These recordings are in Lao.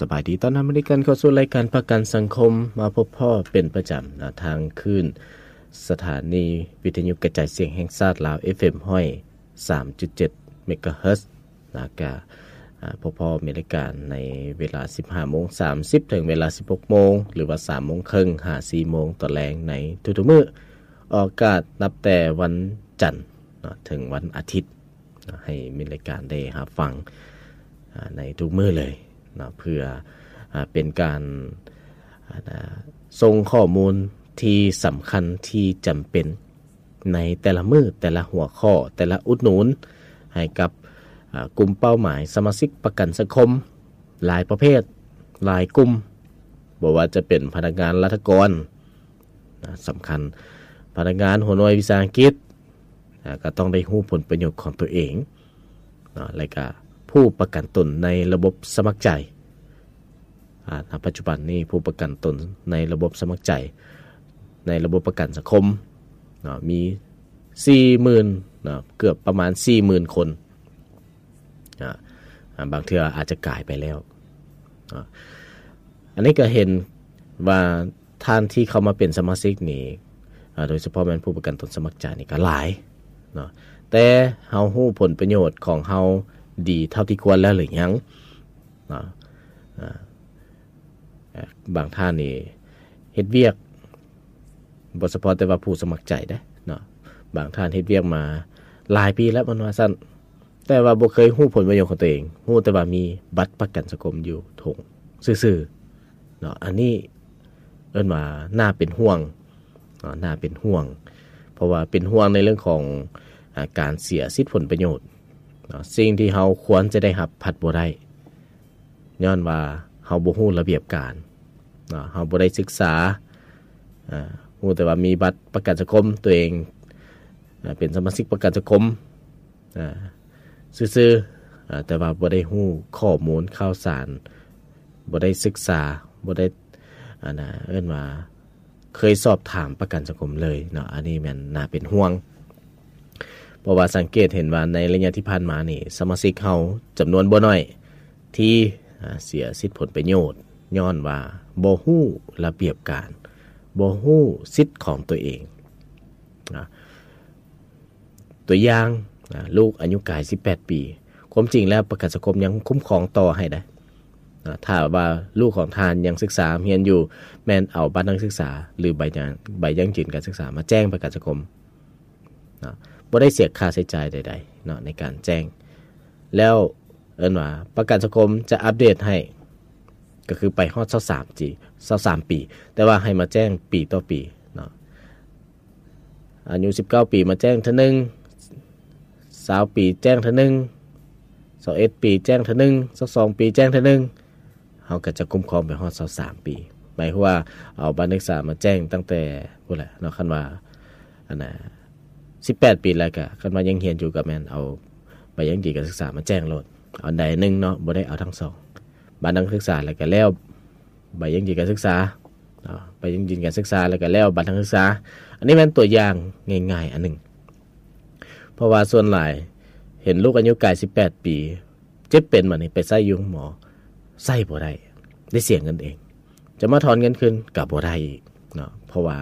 ສະບາຍດີ ຕ້ອນຮັບເຂົ້າສູ່ລາຍການປະກັນສັງຄົມ ມາພົບພໍ້ເປັນປະຈຳນະ ທາງຄື້ນສະຖານີວິທະຍຸກະຈາຍສຽງແຫ່ງຊາດລາວ ເອັຟເອັມ ຮ້ອຍສາມຈຸດເຈັດ ເມກາເຮີດ ແລ້ວກະ ອາ ພົບພໍ້ແມ່ນລາຍການໃນເວລາສິບຫ້າໂມງສາມສິບ ເຖິງເວລາສິບຫົກໂມງ ຫຼືວ່າສາມໂມງເຄິ່ງຫາສີ່ໂມງຕອນແລງໃນທຸກໆມື້ ອອກອາກາດນັບແຕ່ວັນຈັນເນາະ ເຖິງວັນອາທິດເນາະ ໃຫ້ແມ່ນລາຍການໄດ້ຮັບຟັງ ອາ ໃນທຸກມື້ເລີຍເນາະ ເພື່ອ ອາ ເປັນການ ອາ ສົ່ງຂໍ້ມູນທີ່ສຳຄັນ ທີ່ຈຳເປັນ ໃນແຕ່ລະມື້ ແຕ່ລະຫົວຂໍ້ ແຕ່ລະອຸດໜູນ ໃຫ້ກັບ ອາ ກຸ່ມເປົ້າໝາຍສະມາຊິກປະກັນສັງຄົມ ຫຼາຍປະເພດ ຫຼາຍກຸ່ມ ບໍ່ວ່າຈະເປັນພະນັກງານລັດຖະກອນ ນະ ສຳຄັນ ພະນັກງານຫົວໜ່ວຍວິສາຫະກິດ ນະ ກໍຕ້ອງໄດ້ຮູ້ຜົນປະໂຫຍດຂອງຕົວເອງ ນະ ແລະກະຜູ້ປະກັນຕົນໃນລະບົບສະໝັກໃຈ. ອາ ນະ ປັດຈຸບັນນີ້ຜູ້ປະກັນຕົນໃນລະບົບສະໝັກໃຈ ໃນລະບົບປະກັນສັງຄົມເນາະ ມີສີ່ໝື່ນເນາະ ເກືອບປະມານສີ່ໝື່ນຄົນ ອາ ອາ ບາງເທື່ອອາດຈະກາຍໄປແລ້ວເນາະ. ອັນນີ້ກໍເຫັນວ່າທ່ານທີ່ເຂົ້າມາເປັນສະມາຊິກນີ້ ອາ ໂດຍສະເພາະແມ່ນຜູ້ປະກັນຕົນສະໝັກໃຈນີ້ກໍຫຼາຍເນາະ ແຕ່ເຮົາຮູ້ຜົນປະໂຫຍດຂອງເຮົາດີເທົ່າທີ່ຄວນແລ້ວຫຼືຍັງ? ເນາະ ອາ ບາງທ່ານນີ້ເຮັດວຽກ ບໍ່ສະເພາະແຕ່ວ່າຜູ້ສະໝັກໃຈເດ້ເນາະ ບາງທ່ານເຮັດວຽກມາຫຼາຍປີແລ້ວ ເພິ່ນວ່າຊັ້ນ ແຕ່ວ່າບໍ່ເຄີຍຮູ້ຜົນປະໂຫຍດຂອງຕົວເອງ ຮູ້ແຕ່ວ່າມີບັດປະກັນສັງຄົມຢູ່ຖົງຊື່ໆເນາະ. ອັນນີ້ເອີ້ນວ່າໜ້າເປັນຫ່ວງເນາະ ໜ້າເປັນຫ່ວງ ເພາະວ່າເປັນຫ່ວງໃນເລື່ອງຂອງ ອາ ການເສຍສິດຜົນປະໂຫຍດເນາະ ສິ່ງທີ່ເຮົາຄວນຈະໄດ້ຮັບພັດບໍ່ໄດ້ ຍ້ອນວ່າເຮົາບໍ່ຮູ້ລະບຽບການເນາະ ເຮົາບໍ່ໄດ້ສຶກສາ ອາ ຮູ້ແຕ່ວ່າມີບັດປະກັນສັງຄົມ ຕົວເອງ ອາ ເປັນສະມາຊິກປະກັນສັງຄົມ ອາ ຊື່ໆ ອາ ແຕ່ວ່າບໍ່ໄດ້ຮູ້ຂໍ້ມູນຂ່າວສານ ບໍ່ໄດ້ສຶກສາ ບໍ່ໄດ້ ອັນນະ ເອີ້ນວ່າ ເຄີຍສອບຖາມປະກັນສັງຄົມເລີຍເນາະ ອັນນີ້ແມ່ນໜ້າເປັນຫ່ວງ ເພາະວ່າສັງເກດເຫັນວ່າໃນໄລຍະທີ່ຜ່ານມານີ້ ສະມາຊິກເຮົາຈຳນວນບໍ່ໜ້ອຍທີ່ ອາ ເສຍສິດຜົນປະໂຫຍດ ຍ້ອນວ່າບໍ່ຮູ້ລະບຽບການ ບໍ່ຮູ້ສິດຂອງຕົວເອງນະ. ຕົວຢ່າງ ອາ ລູກອາຍຸກາຍສິບແປດປີ ຄວາມຈິງແລ້ວປະກັນສັງຄົມຍັງຄຸ້ມຄອງຕໍ່ໃຫ້ໄດ້ນະ ຖ້າວ່າລູກຂອງທ່ານຍັງສຶກສາຮຽນຢູ່ ແມ່ນເອົາບັດນັກສຶກສາ ຫຼື ໃບຍັງ ໃບຢັ້ງຢືນການສຶກສາມາແຈ້ງປະກັນສັງຄົມເນາະ ບໍ່ໄດ້ເສຍຄ່າໃຊ້ຈ່າຍໃດໆເນາະ ໃນການແຈ້ງ ແລ້ວເອີ້ນວ່າປະກັນສັງຄົມຈະອັບເດດໃຫ້ ກໍຄືໄປຮອດຊາວສາມປີ ຊາວສາມປີ ແຕ່ວ່າໃຫ້ມາແຈ້ງປີຕໍ່ປີເນາະ. ອາຍຸສິບເກົ້າປີມາແຈ້ງເທື່ອໜຶ່ງ, ຊາວປີແຈ້ງເທື່ອໜຶ່ງ, ຊາວເອັດປີແຈ້ງເທື່ອໜຶ່ງ, ຊາວສອງປີແຈ້ງເທື່ອໜຶ່ງ, ເຮົາກໍຈະຄຸ້ມຄອງໄປຮອດຊາວສາມປີ. ໝາຍຄວາມວ່າເອົາບັດນັກສຶກສາມາແຈ້ງຕັ້ງແຕ່ພຸ້ນແຫຼະເນາະ, ຄັນວ່າ ອັນນ່າ ສິບແປດປີແລ້ວກະ ຄັນວ່າຍັງຮຽນຢູ່ກະແມ່ນເອົາໃບຢັ້ງຢືນການສຶກສາມາແຈ້ງໂລດ, ເອົາອັນໃດໜຶ່ງເນາະ, ບໍ່ໄດ້ເອົາທັງສອງ. ບັດນັກສຶກສາແລ້ວກະແລ້ວ ໃບຢັ້ງຢືນການສຶກສາເນາະ, ໃບຢັ້ງຢືນການສຶກສາ ແລ້ວກະແລ້ວບັດນັກສຶກສາ. ອັນນີ້ແມ່ນຕົວຢ່າງງ່າຍໆອັນໜຶ່ງ, ເພາະວ່າສ່ວນຫຼາຍເຫັນລູກອາຍຸກາຍສິບແປດປີ ເຈັບເປັນບາດນີ້ໄປໃຊ້ຢູ່ໂຮງໝໍ ໃຊ້ບໍ່ໄດ້, ໄດ້ເສຍເງິນເອງ, ຈະມາຖອນເງິນຄືນກໍບໍ່ໄດ້ອີກເນາະ, ເພາະວ່າ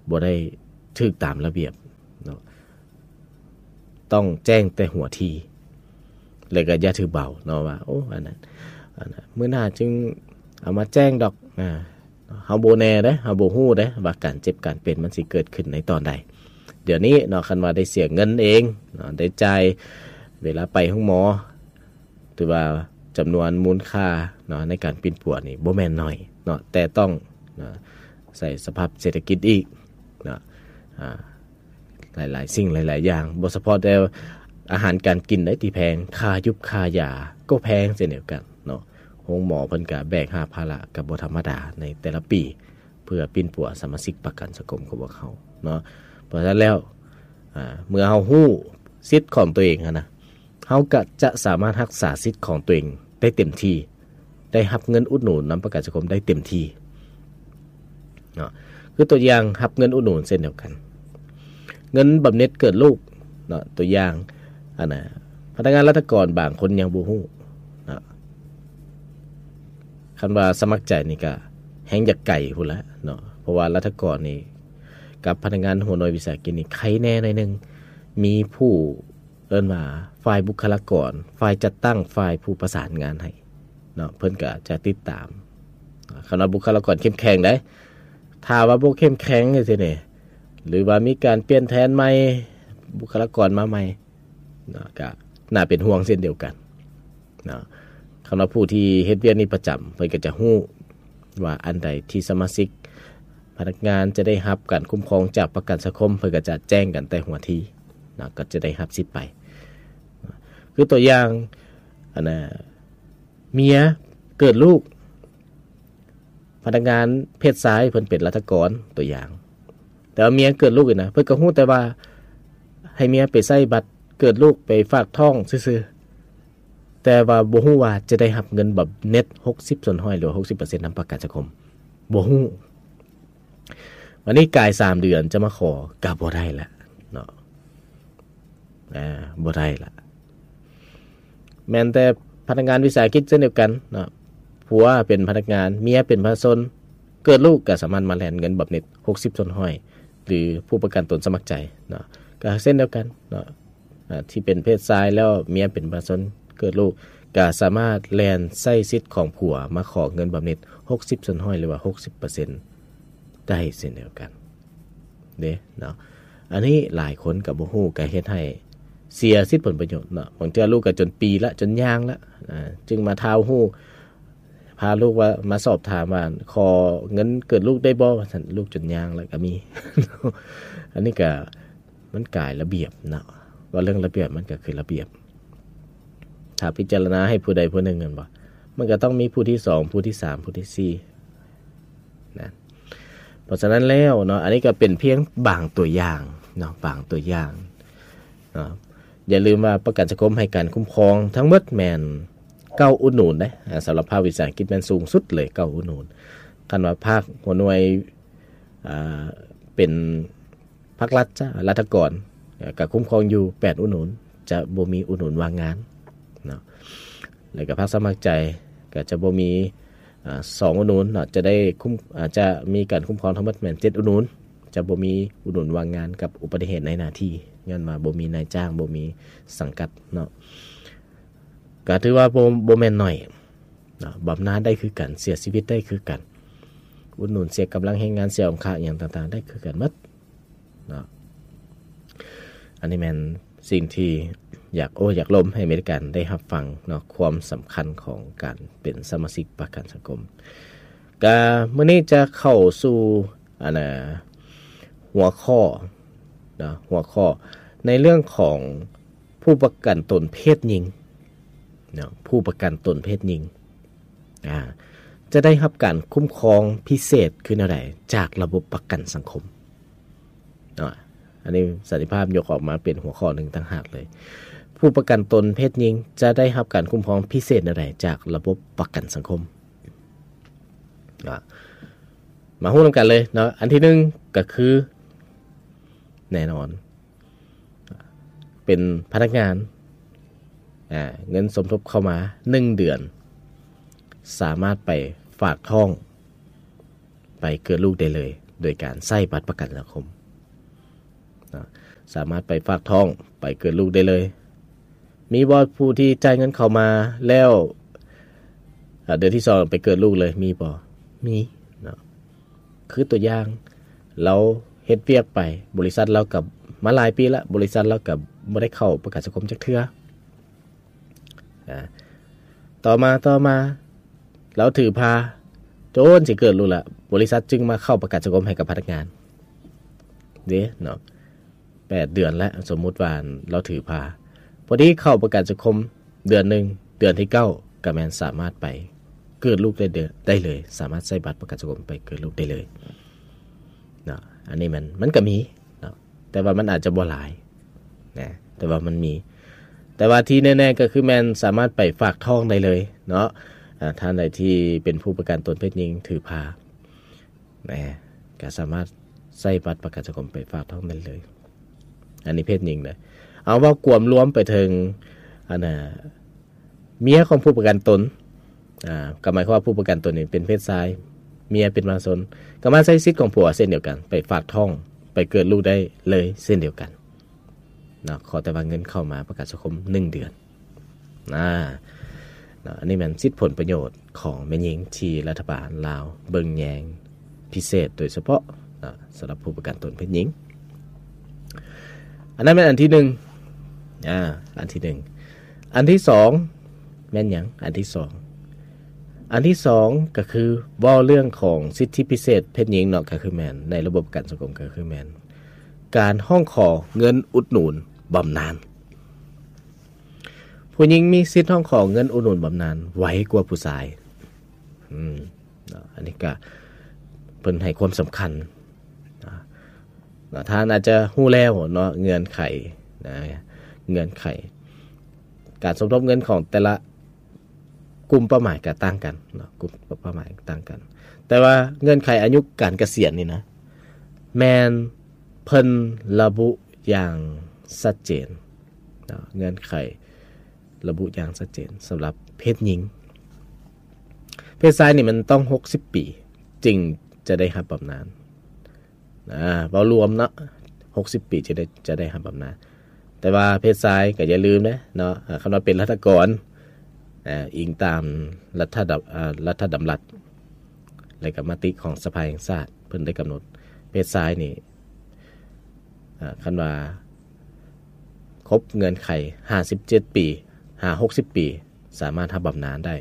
ບໍ່ໄດ້ຖືກຕາມລະບຽບເນາະ. ຕ້ອງແຈ້ງແຕ່ຫົວທີ ແລ້ວກໍຢ່າຖືເບົາເນາະ ວ່າ ໂອ້ ອັນນັ້ນ ອັນນັ້ນ ມື້ໜ້າຈຶ່ງເອົາມາແຈ້ງດອກ. ອາ ເຮົາບໍ່ແນ່ເດ້, ເຮົາບໍ່ຮູ້ເດ້ວ່າການເຈັບການເປັນມັນຊິເກີດຂຶ້ນໃນຕອນໃດ. ດຽວນີ້ເນາະ ຄັນວ່າໄດ້ເສຍເງິນເອງເນາະ, ໄດ້ຈ່າຍເວລາໄປໂຮງໝໍ, ຖືວ່າຈຳນວນມູນຄ່າເນາະ ໃນການປິ່ນປົວນີ້ບໍ່ແມ່ນໜ້ອຍເນາະ, ແຕ່ຕ້ອງເນາະ ໃສ່ສະພາບເສດຖະກິດອີກເນາະ, ອາ ຫຼາຍໆສິ່ງຫຼາຍໆຢ່າງ, ບໍ່ສະເພາະແຕ່ອາຫານການກິນໃດ໋ທີ່ແພງ, ຄ່າຢູບຄ່າຢາກໍແພງເຊັ່ນດຽວກັນເນາະ. ໂຮງໝໍເພິ່ນກະແບກຫາບພາລະກໍບໍ່ທຳມະດາໃນແຕ່ລະປີ ເພື່ອປິ່ນປົວສະມາຊິກປະກັນສັງຄົມຂອງພວກເຮົາເນາະ. ເພາະສະນັ້ນແລ້ວ ອາ ເມື່ອເຮົາຮູ້ສິດຂອງຕົວເອງຫັ້ນນະ, ເຮົາກໍຈະສາມາດຮັກສາສິດຂອງຕົວເອງໄດ້ເຕັມທີ່, ໄດ້ຮັບເງິນອຸດໜູນນຳປະກັນສັງຄົມໄດ້ເຕັມທີ່ເນາະ. ຄືຕົວຢ່າງ ຮັບເງິນອຸດໜູນເຊັ່ນດຽວກັນ, ເງິນບຳເນັດເກີດລູກເນາະ, ຕົວຢ່າງ ອັນນ່າ ພະນັກງານລັດຖະກອນບາງຄົນຍັງບໍ່ຮູ້ເນາະ, ຄັນວ່າສະໝັກໃຈນີ້ກະແຮ່ງຢາກໄກພຸ້ນລະເນາະ ເພາະວ່າລັດຖະກອນນີ້ກັບພະນັກງານຫົວໜ່ວຍວິສາຫະກິດນີ້ໄຄແນ່ໜ້ອຍໜຶ່ງ ມີຜູ້ເອີ້ນວ່າຝ່າຍບຸກຄະລາກອນ, ຝ່າຍຈັດຕັ້ງ, ຝ່າຍຜູ້ປະສານງານໃຫ້ເນາະ ເພິ່ນກະຈະຕິດຕາມ. ຄັນວ່າບຸກຄະລາກອນເຂັ້ມແຂງໃດ໋ ຖ້າວ່າບໍ່ເຂັ້ມແຂງຈັ່ງຊີ້ນີ້ ຫຼືວ່າມີການປ່ຽນແທນໃໝ່ ບຸກຄະລາກອນມາໃໝ່ ເນາະ ກະໜ້າເປັນຫ່ວງເຊັ່ນດຽວກັນເນາະ. ຄະນະຜູ້ທີ່ເຮັດວຽກນີ້ປະຈຳ ເພິ່ນກໍຈະຮູ້ວ່າອັນໃດທີ່ສະມາຊິກພະນັກງານຈະໄດ້ຮັບການຄຸ້ມຄອງຈາກປະກັນສັງຄົມ ເພິ່ນກໍຈະແຈ້ງກັນແຕ່ຫົວທີເນາະ ກໍຈະໄດ້ຮັບສິດໄປ. ຄືຕົວຢ່າງ ອັນນ່າ ເມຍເກີດລູກ ພະນັກງານເພດຊາຍເພິ່ນເປັນລັດຖະກອນ ຕົວຢ່າງ ແຕ່ວ່າເມຍເກີດລູກນີ້ນະ ເພິ່ນກໍຮູ້ແຕ່ວ່າໃຫ້ເມຍໄປໃຊ້ບັດເກີດລູກ ໄປຝາກທ້ອງຊື່ໆ ແຕ່ວ່າບໍ່ຮູ້ວ່າຈະໄດ້ຮັບເງິນບຳເໜັດຫົກສິບສ່ວນຮ້ອຍ ຫຼືວ່າຫົກສິບເປີເຊັນນຳປະກັນສັງຄົມ ບໍ່ຮູ້. ບາດນີ້ກາຍສາມເດືອນຈະມາຂໍກໍບໍ່ໄດ້ລະເນາະ. ອ່າ ບໍ່ໄດ້ລະ. ແມ່ນແຕ່ພະນັກງານວິສາຫະກິດເຊັ່ນດຽວກັນເນາະ ຜົວເປັນພະນັກງານ ເມຍເປັນປະຊາຊົນ ເກີດລູກກໍສາມາດມາແລ່ນເງິນບຳເໜັດຫົກສິບສ່ວນຮ້ອຍ ຫຼືຜູ້ປະກັນຕົນສະໝັກໃຈເນາະ ກໍເຊັ່ນດຽວກັນເນາະ. ອ່າ ທີ່ເປັນເພດຊາຍແລ້ວເມຍເປັນປະຊາຊົນ ເກີດລູກ ກໍສາມາດແລ່ນໃຊ້ສິດຂອງຜົວມາຂໍເງິນບຳເໜັດຫົກສິບສ່ວນຮ້ອຍ ຫຼືວ່າຫົກສິບເປີເຊັນໄດ້ເຊັ່ນດຽວກັນເດ້ເນາະ. ອັນນີ້ຫຼາຍຄົນກໍບໍ່ຮູ້ ກໍເຮັດໃຫ້ເສຍສິດຜົນປະໂຫຍດເນາະ. ບາງເທື່ອລູກກໍຈົນປີລະ ຈົນຍ່າງລະ ອ່າ ຈຶ່ງມາທ້າວຮູ້ ພາລູກວ່າ ມາສອບຖາມວ່າ ຂໍເງິນເກີດລູກໄດ້ບໍ່ ວ່າຊັ້ນ ລູກຈົນຍ່າງລະກໍມີ. ອັນນີ້ກໍ ມັນກາຍລະບຽບເນາະ ເວົ້າເລື່ອງລະບຽບ ມັນກໍຄືລະບຽບ. ຖ້າພິຈາລະນາໃຫ້ຜູ້ໃດຜູ້ໜຶ່ງແມ່ນບໍ່ ມັນກໍຕ້ອງມີຜູ້ທີສອງ ຜູ້ທີສາມ ຜູ້ທີສີ່ນະ. ເພາະສະນັ້ນແລ້ວເນາະ ອັນນີ້ກໍເປັນພຽງບາງຕົວຢ່າງເນາະ ບາງຕົວຢ່າງເນາະ. ຢ່າລືມວ່າປະກັນສັງຄົມໃຫ້ການຄຸ້ມຄອງທັງໝົດແມ່ນເກົ້າອຸດໜູນເດ້. ອາ ສຳລັບພາກວິສາຫະກິດແມ່ນສູງສຸດເລີຍ ເກົ້າອຸດໜູນ. ຄັນວ່າພາກຫົວໜ່ວຍ ອ່າ ເປັນ ພາກລັດຈະ ລັດຖະກອນ ເອີ ກະຄຸ້ມຄອງຢູ່ແປດອຸດໜູນ ຈະບໍ່ມີອຸດໜູນວ່າງງານເນາະ. ແລ້ວກະພາກສະໝັກໃຈກະຈະບໍ່ມີ ອ່າ ສອງອຸດໜູນເນາະ ຈະໄດ້ຄຸ້ມ ອາ ຈະມີການຄຸ້ມຄອງທັງໝົດແມ່ນເຈັດອຸດໜູນ ຈະບໍ່ມີອຸດໜູນວ່າງງານກັບອຸບັດຕິເຫດໃນໜ້າທີ່ ຍ້ອນວ່າບໍ່ມີນາຍຈ້າງ ບໍ່ມີສັງກັດເນາະ. ກະຖືວ່າບໍ່ ບໍ່ແມ່ນໜ້ອຍເນາະ ບຳນານໄດ້ຄືກັນ ເສຍຊີວິດໄດ້ຄືກັນ ອຸດໜູນເສຍກຳລັງແຮງງານ ເສຍອົງຄະຫຍັງຕ່າງໆ ໄດ້ຄືກັນໝົດ ເນາະ. ອັນນີ້ແມ່ນສິ່ງທີ່ຢາກໂອ້ຢາກລົມໃຫ້ອາເມລິກັນໄດ້ຮັບຟັງເນາະ ຄວາມສຳຄັນຂອງການເປັນສະມາຊິກປະກັນສັງຄົມ. ກະມື້ນີ້ຈະເຂົ້າສູ່ ອັນນ່າ ຫົວຂໍ້ເນາະ ຫົວຂໍ້ໃນເລື່ອງຂອງຜູ້ປະກັນຕົນເພດຍິງເນາະ ຜູ້ປະກັນຕົນເພດຍິງ ອ່າ ຈະໄດ້ຮັບການຄຸ້ມຄອງພິເສດຄືແນວໃດຈາກລະບົບປະກັນສັງຄົມເນາະ. ອັນນີ້ສັນຕິພາບຍົກອອກມາເປັນຫົວຂໍ້ໜຶ່ງຕ່າງຫາກເລີຍ ຜູ້ປະກັນຕົນເພດຍິງຈະໄດ້ຮັບການຄຸ້ມຄອງພິເສດແນວໃດຈາກລະບົບປະກັນສັງຄົມເນາະ. ມາຮູ້ນຳກັນເລີຍເນາະ ອັນທີໜຶ່ງກໍຄື ແນ່ນອນ ເປັນພະນັກງານ ອ່າ ເງິນສົມທົບເຂົ້າມາໜຶ່ງເດືອນ ສາມາດໄປຝາກທ້ອງ ໄປເກີດລູກໄດ້ເລີຍ ໂດຍການໃຊ້ບັດປະກັນສັງຄົມເນາະ ສາມາດໄປຝາກທ້ອງ ໄປເກີດລູກໄດ້ເລີຍ. ມີບໍ່ຜູ້ທີ່ຈ່າຍເງິນເຂົ້າມາແລ້ວ ອ່າ ເດືອນທີສອງໄປເກີດລູກເລີຍ ມີບໍ່? ມີເນາະ. ຄືຕົວຢ່າງ ລາວເຮັດວຽກໄປ ບໍລິສັດລາວກໍມາຫຼາຍປີລະ ບໍລິສັດລາວກໍບໍ່ໄດ້ເຂົ້າປະກັນສັງຄົມຈັກເທື່ອ. ອ່າ ຕໍ່ມາ ຕໍ່ມາ ລາວຖືພາຈົນຊິເກີດລູກລະ ບໍລິສັດຈຶ່ງມາເຂົ້າປະກັນສັງຄົມໃຫ້ກັບພະນັກງານເດ້ເນາະ. ແປດເດືອນແລ້ວ ສົມມຸດວ່າລາວຖືພາ ພໍດີເຂົ້າປະກັນສັງຄົມເດືອນໜຶ່ງ ເດືອນທີເກົ້າ ກໍແມ່ນສາມາດໄປເກີດລູກໄດ້ເດີ ໄດ້ເລີຍ ສາມາດໃຊ້ບັດປະກັນສັງຄົມໄປເກີດລູກໄດ້ເລີຍເນາະ. ອັນນີ້ມັນ ມັນກໍມີເນາະ ແຕ່ວ່າມັນອາດຈະບໍ່ຫຼາຍນະ ແຕ່ວ່າມັນມີ. ແຕ່ວ່າທີ່ແນ່ໆກໍຄືແມ່ນສາມາດໄປຝາກທ້ອງໄດ້ເລີຍເນາະ. ອາ ທ່ານໃດທີ່ເປັນຜູ້ປະກັນຕົນເພດຍິງຖືພາ ນະ ກໍສາມາດໃຊ້ບັດປະກັນສັງຄົມໄປຝາກທ້ອງໄດ້ເລີຍ. ອັນນີ້ເພດຍິງເດີ. ເອົາ ເວົ້າກວມລວມໄປເຖິງ ອັນນ່າ ເມຍຂອງຜູ້ປະກັນຕົນ ອ່າ ກໍໝາຍຄວາມວ່າຜູ້ປະກັນຕົນນີ້ເປັນເພດຊາຍ ເມຍເປັນມະຫາຊົນ ກໍມາໃຊ້ສິດຂອງຜົວເຊັ່ນດຽວກັນ ໄປຝາກທ້ອງ ໄປເກີດລູກໄດ້ເລີຍເຊັ່ນດຽວກັນເນາະ ຂໍແຕ່ວ່າເງິນເຂົ້າມາປະກັນສັງຄົມໜຶ່ງເດືອນນະ. ເນາະ ອັນນີ້ແມ່ນສິດຜົນປະໂຫຍດຂອງແມ່ຍິງທີ່ລັດຖະບານລາວເບິ່ງແຍງພິເສດໂດຍສະເພາະເນາະ ສຳລັບຜູ້ປະກັນຕົນເພດຍິງ. ອັນນັ້ນແມ່ນອັນທີໜຶ່ງ ອ່າ ອັນທີໜຶ່ງ. ອັນທີສອງແມ່ນຫຍັງ? ອັນທີສອງ ອັນທີສອງກໍຄືເວົ້າເລື່ອງຂອງສິດທິພິເສດເພດຍິງເນາະ ກໍຄືແມ່ນໃນລະບົບປະກັນສັງຄົມ ກໍຄືແມ່ນການຮ້ອງຂໍເງິນອຸດໜູນບຳນານ. ຜູ້ຍິງມີສິດຮ້ອງຂໍເງິນອຸດໜູນບຳນານໄວກວ່າຜູ້ຊາຍ. ອືມ ເນາະ ອັນນີ້ກະເພິ່ນໃຫ້ຄວາມສຳຄັນນະ ເນາະ ທ່ານອາດຈະຮູ້ແລ້ວເນາະ ເງື່ອນໄຂນະ ເງື່ອນໄຂການສົມທົບເງິນຂອງແຕ່ລະກຸ່ມເປົ້າໝາຍກໍຕ່າງກັນເນາະ ກຸ່ມເປົ້າໝາຍຕ່າງກັນ ແຕ່ວ່າເງື່ອນໄຂອາຍຸການກະສຽນນີ້ນະ ແມ່ນເພິ່ນລະບຸຢ່າງຊັດເຈນເນາະ ເງື່ອນໄຂລະບຸຢ່າງຊັດເຈນສຳລັບເພດຍິງ. ເພດຊາຍນີ້ມັນຕ້ອງຫົກສິບປີຈຶ່ງຈະໄດ້ຮັບບຳນານ ອ່າ ເວົ້າລວມເນາະ ຫົກສິບປີຈະໄດ້ ຈະໄດ້ຮັບບຳນານ. ແຕ່ວ່າເພດຊາຍກໍຢ່າລືມເດ້ເນາະ ອ່າ ຄັນວ່າເປັນລັດຖະກອນ ອ່າ ອີງຕາມລັດຖະດຳ ອ່າ ລັດຖະດຳລັດ ແລະກໍມະຕິຂອງສະພາແຫ່ງຊາດ ເພິ່ນໄດ້ກຳນົດເພດຊາຍນີ້ ອ່າ ຄັນວ່າຄົບເງື່ອນໄຂຫ້າສິບເຈັດປີ ຫາຫົກສິບປີ ສາມາດຮັບບຳນານໄດ້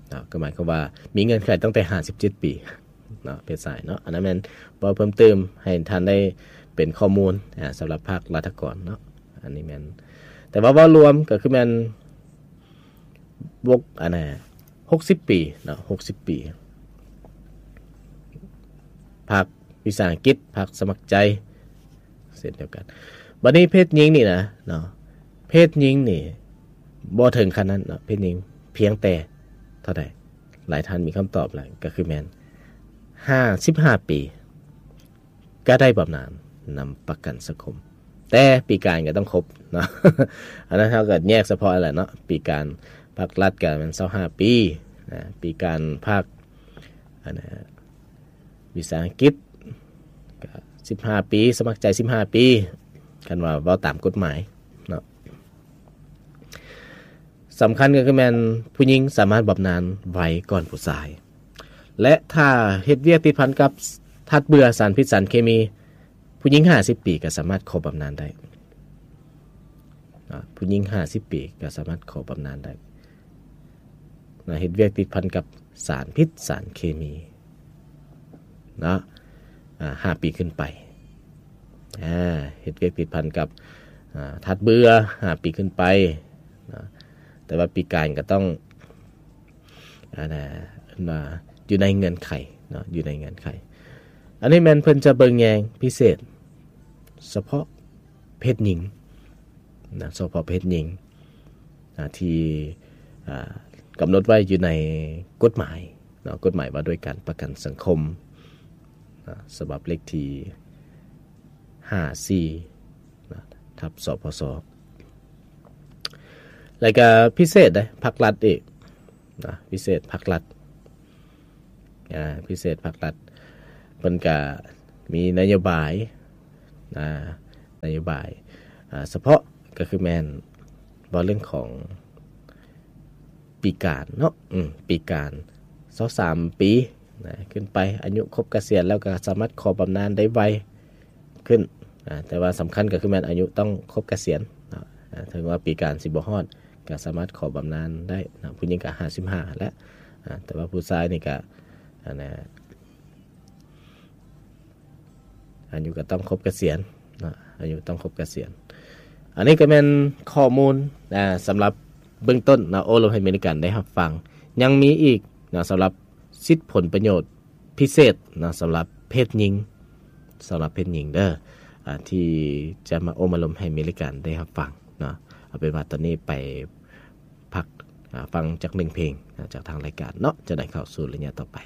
ເນາະ ກໍໝາຍຄວາມວ່າມີເງື່ອນໄຂຕັ້ງແຕ່ຫ້າສິບເຈັດປີເນາະ ເພດຊາຍເນາະ. ອັນນັ້ນແມ່ນເວົ້າເພີ່ມເຕີມໃຫ້ທ່ານໄດ້ເປັນຂໍ້ມູນ ອ່າ ສຳລັບພາກລັດຖະກອນເນາະ ອັນນີ້ແມ່ນ. ແຕ່ວ່າເວົ້າລວມກໍຄືແມ່ນ ບົກ ອັນນະ ຫົກສິບປີເນາະ ຫົກສິບປີ ພາກວິສາຫະກິດ ພາກສະໝັກໃຈ ເຊັ່ນດຽວກັນ. ບັດນີ້ເພດຍິງນີ້ນະເນາະ ເພດຍິງນີ້ບໍ່ເຖິງຂັ້ນນັ້ນເນາະ ເພດຍິງພຽງແຕ່ເທົ່າໃດ? ຫຼາຍທ່ານມີຄຳຕອບແລ້ວ ກໍຄືແມ່ນຫ້າສິບຫ້າປີກໍໄດ້ບຳນານນຳປະກັນສັງຄົມ ແຕ່ປີການກໍຕ້ອງຄົບເນາະ ອັນນັ້ນເຮົາກໍແຍກສະເພາະແຫຼະເນາະ ປີການພາກລັດກໍແມ່ນຊາວຫ້າປີນະ ປີການພາກ ອັນນະ ວິສາຫະກິດກໍສິບຫ້າປີ ສະໝັກໃຈສິບຫ້າປີ ຄັນວ່າເວົ້າຕາມກົດໝາຍເນາະ. ສຳຄັນກໍຄືແມ່ນຜູ້ຍິງສາມາດບຳນານໄວກ່ອນຜູ້ຊາຍ ແລະ ຖ້າເຮັດວຽກຕິດພັນກັບທາດເບື່ອ ສານພິດ ສານເຄມີ ຜູ້ຍິງຫ້າສິບປີກໍສາມາດຂໍບຳນານໄດ້ ອາ ຜູ້ຍິງຫ້າສິບປີກໍສາມາດຂໍບຳນານໄດ້ນະ ເຮັດວຽກຕິດພັນກັບສານພິດ ສານເຄມີເນາະ ອາ ຫ້າປີຂຶ້ນໄປ ອາ ເຮັດວຽກຕິດພັນກັບ ອາ ທາດເບື່ອ ຫ້າປີຂຶ້ນໄປນະ ແຕ່ວ່າປີການກໍຕ້ອງ ອັນນະ ຢູ່ໃນເງື່ອນໄຂເນາະ ຢູ່ໃນເງື່ອນໄຂ. ອັນນີ້ແມ່ນເພິ່ນຈະເບິ່ງແຍງພິເສດສະເພາະເພດຍິງນະ ສະເພາະເພດຍິງນະ ທີ່ ອາ ກຳນົດໄວ້ຢູ່ໃນກົດໝາຍເນາະ ກົດໝາຍວ່າດ້ວຍການປະກັນສັງຄົມນະ ສະບັບເລກທີຫ້າສີ່ນະ ທັບ ສພສ ແລ້ວກະພິເສດເດ້ ພາກລັດອີກນະ ພິເສດພາກລັດ ອາ ພິເສດພາກລັດ ເພິ່ນກະມີນະໂຍບາຍ ອາ ນະໂຍບາຍ ອາ ສະເພາະ ກໍຄືແມ່ນເວົ້າເລື່ອງຂອງປີການເນາະ ອືມ ປີການຊາວສາມປີນະ ຂຶ້ນໄປ ອາຍຸຄົບກະສຽນແລ້ວກໍສາມາດຂໍບຳນານໄດ້ໄວ ຂຶ້ນ ອາ ແຕ່ວ່າສຳຄັນກໍຄືແມ່ນອາຍຸຕ້ອງຄົບກະສຽນເນາະ ອາ ເຖິງວ່າປີການຊິບໍ່ຮອດ ກໍສາມາດຂໍບຳນານໄດ້ເນາະ ຜູ້ຍິງກໍຫ້າສິບຫ້າແລ້ວ ອາ ແຕ່ວ່າຜູ້ຊາຍນີ້ກໍ ອັນນະ ອາຍຸກໍຕ້ອງຄົບກະສຽນເນາະ ອາຍຸຕ້ອງຄົບກະສຽນ. ອັນນີ້ກໍແມ່ນຂໍ້ມູນ ອາ ສຳລັບເບື້ອງຕົ້ນເນາະ ໂອ້ລົມໃຫ້ເມລິກັນໄດ້ຮັບຟັງ. ຍັງມີອີກເນາະ ສຳລັບ ສິດຜົນປະໂຫຍດພິເສດເນາະ ສຳລັບເພດຍິງ ສຳລັບເພດຍິງເດີ ອາ ທີ່ຈະມາໂອ້ມາລົມໃຫ້ເມລິກັນໄດ້ຮັບຟັງເນາະ. ເອົາເປັນວ່າຕອນນີ້ໄປພັກ ອາ ຟັງຈັກໜຶ່ງເພງນະ ຈາກທາງລາຍການເນາະ ຈະໄດ້ເຂົ້າສູ່ໄລຍະຕໍ່ໄປ.